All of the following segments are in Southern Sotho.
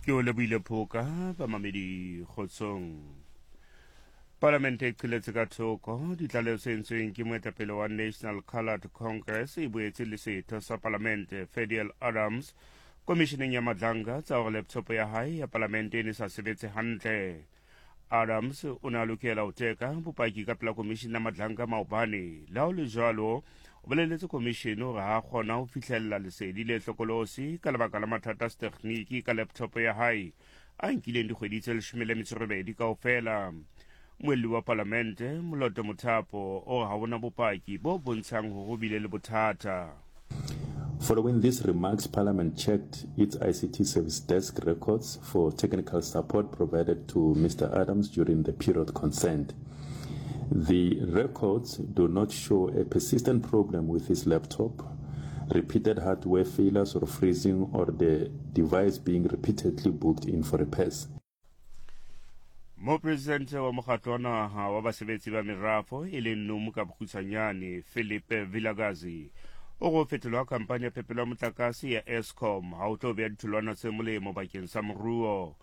Ke o lebohile Phoka, bamamedi kgotsong. Palamente e qheletse ka thoko ditlaleho tse entsweng ke moetapele wa National Coloured Congress e boetse le setho sa palamente Fadiel Adams komisheneng ya Madlanga tsa hore laptop ya hae ya palamente e ne sa sebetse hantle. Adams o ne a lokela ho teka bopaki ka pela komishene ya Madlanga maobane. Le ha ho le jwalo, o boleletse komishene hore ha a kgona ho fihlella lesedi le hlokolosi ka lebaka la mathata a setekgniki ka laptop ya hae a nkileng dikgwedi tse 18 kaofela. Muelli wa palamente Moloto Mothapo o re ha hona bopaki bo bontshang hore ho bile le bothata. Following these remarks, Parliament checked its ICT service desk records for technical support provided to Mr. Adams during the period concerned. The records do not show a persistent problem with his laptop, repeated hardware failures or freezing, or the device being repeatedly booked in for repairs. Mopresidente wa mokgatlo wa naha wa basebetsi ba merafo e leng NUM ka bokgutshwanyane Philip Vilakazi o go fetolwa ha khampani ya phepelo ya motlakase ya Eskom ha o tlo beya ditholwana tse molemo bakeng sa moruo.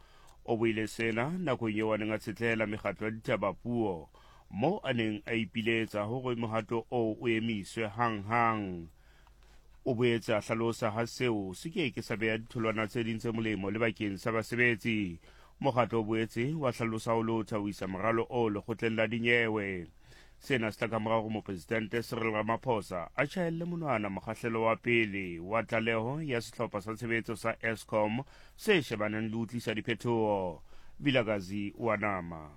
O buile sena nakong eo a neng a tshetlela mekgatlo ya ditaba puo moo a neng a ipiletsa hore mohato oo o emiswe hang-hang. O boetse a hlalosa ha seo se ke ke sa beha ditholwana tse ding tse molemo le bakeng sa basebetsi. Mokgatlo o boetse wa hlalosa ho lotha ho isa moralo oo lekgotleng la dinyewe. Sena se tla ka mora hore Mopresidente Cyril Ramaphosa a tjhaelle monwana mokgahlelo wa pele wa tlaleho ya sehlopha sa tshebetso sa Eskom se shebaneng le ho tlisa diphetoho. Vilakazi wa nama.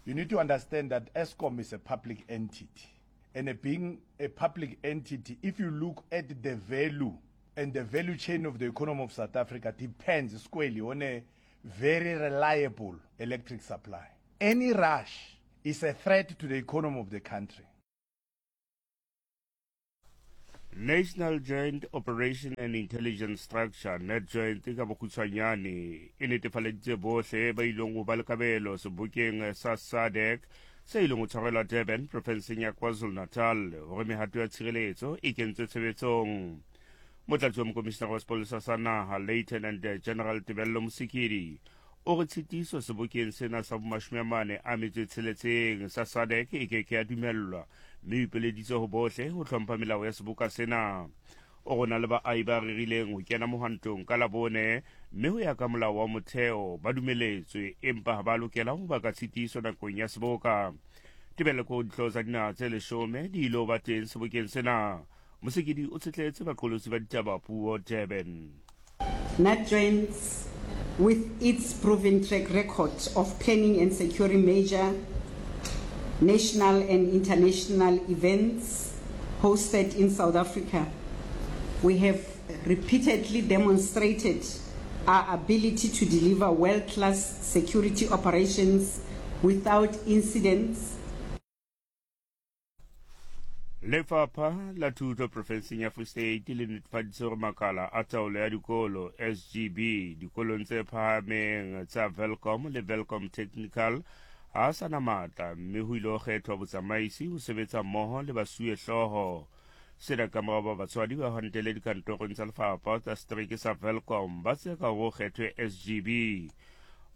You need to understand that Eskom is a public entity. And being a public entity, if you look at the value and the value chain of the economy of South Africa depends squarely on a very reliable electric supply. Any rush is a threat to the economy of the country. National Joint Operation and Intelligence Structure NatJoint ka bokgutshwanyane e netefaleditse bohle ba ileng go ba le kabelo sebokeng sa SADC se ileng go tshwarelwa Durban profenseng ya KwaZulu-Natal gore mehato ya tshireletso e kentswe tshebetsong. Motlatsi wa mokomishinara wa sepolesa sa naha Lieutenant General Tebello Mosikili o re tshitiso sebokeng sena sa bomashome a mane a metso e tsheletseng sa SADC e ke ke ya dumellwa mme o ipeleditse ho bohle ho hlompha melao ya seboka sena. O re o na le baahi ba rerileng ho kena mohwantong ka Labone mme ho ya ka molao wa motheo ba dumeletswe empa ha ba lokela ho baka tshitiso nakong ya seboka. Tebello ke hore dihlooho tsa dinaha tse leshome di ilo ba teng sebokeng sena. Mosekedi o tshetletse baqolotsi ba ditaba puo Durban. NatJoints, with its proven track record of planning and securing major national and international events hosted in South Africa, we have repeatedly demonstrated our ability to deliver world-class security operations without incidents. Lefapha la Thuto profenseng ya Free State le netefaditse gore makala a taolo ya dikolo SGB dikolong tse phahameng tsa Welkom le Welkom Technical ga a sa na maatla mme ho ile go kgethwa botsamaisi ho sebetsa mmoho le basuwehlooho. Sena ka morago ba batswadi ba hwantele dikantorong tsa lefapha tsa setereke sa Welkom ba tseka gore go kgethwe SGB.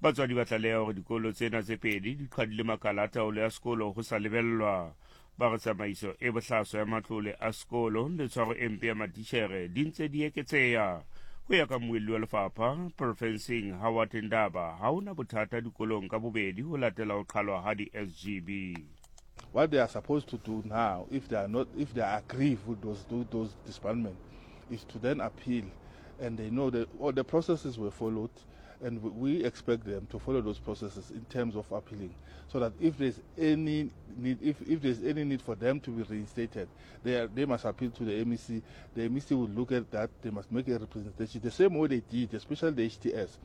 Batswadi ba tlaleha gore dikolo tsena tse pedi di qhadile makala a taolo ya sekolo go sa lebellwa. Ba re tsamaiso e bohlaswa ya matlole a sekolo le tshwaro e mpe ya matitjhere di ntse di eketseha. Ho ya ka mmuelli wa lefapha porofenseng Howard Ndaba, ha ho na bothata dikolong ka bobedi ho latela ho qhalwa ha di-SGB. What they are supposed to do now, if they are not, if they are aggrieved with those disbandment, is to then appeal, and they know that all the processes were followed, and we expect them to follow those processes in terms of appealing, so that if there's any need, if there's any need for them to be reinstated, they must appeal to the MEC. The MEC will look at that. They must make a representation the same way they did, especially the HTS.